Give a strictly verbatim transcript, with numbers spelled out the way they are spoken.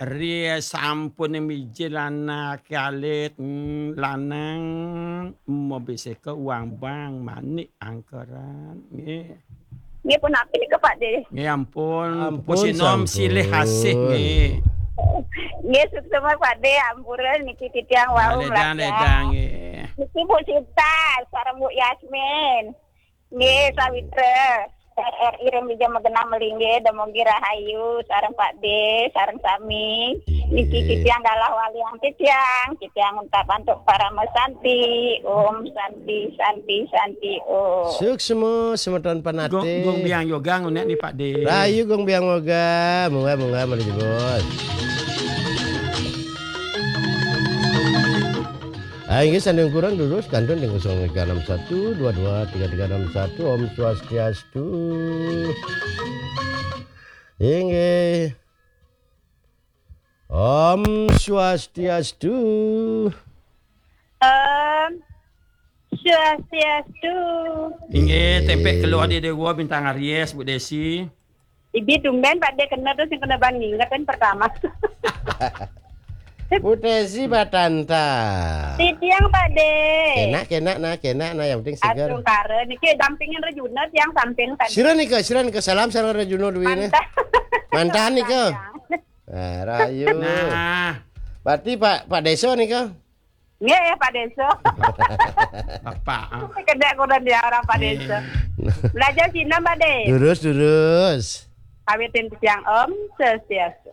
Ri sampun miji lanang alit, mm, lanang mobiseka uang bang manik angkeran. Nggih. Nggih, pun apik nika, Pak De. Nggih, ampun. Ampun, pupuh sinom sampun. Silih asih, nggih. Nggih, suksma, Pak De, ampura niki titiang wau. Ledang, melajah. Ledang, nggih. Niki Bu Sinta sareng Bu Yasmin. Nggih, sawitra. R R I ring Bija Magenah Melinggih, dumugi rahayu sareng Pak De, sareng sami. Nggih. Niki titiang galah waliang titiang, titiang untak antuk parama santi. Om Santi, Santi, Santi, Om. Suksma, semeton panate. Gong, gong biang yoga ngunek ni, Pak De. Rahayu gong biang yoga, munggah, munggah, mari jebos. Ah, inggih, sanding kurang durus, kantun ring kosong tiga enam satu dua dua tiga tiga enam satu. Om Swastiastu. Inggih. Om Swastiastu. Om Swastiastu. Inggih, tempek keluar di Dewa Bintang Aries, Bu Desi. Ibi tumben Pak De kena tu sing kena ban ngingetin pertama. Bu Desi Batanta. Titiang Pak De. Kenak, kenak nah, kenak nah, yang penting segar. Astungkara niki dampingin Rejuna tiang samping tadi. Sira nika, sira nika salam sareng Rejuna duwene. Mantan. Mantan nika. Nah, rahayu. Nah. Berarti Pak, Pak Desa nika? Nggih, Pak Desa. Bapak, ah. Kedek kuda dia orang Pak Desa. Belajar Cina, Pak De. Durus, durus. Kawitin titiang Om Swastiastu.